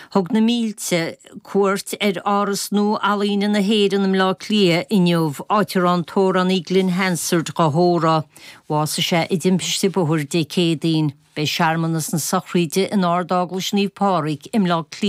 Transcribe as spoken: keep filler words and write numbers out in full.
Thug na mílte cuairt ar Áras Nua Ealaíne na hÉireann i mBleá Cliath inniu, áit a raibh an t-amhránaí Glen Hansard á thórramh. Bhásaigh sé i dtimpiste bóthair Dé Céadaoin. Beidh searmanas na sochraide in Ard-Eaglais Naomh Pádraig i mBleá Cliath.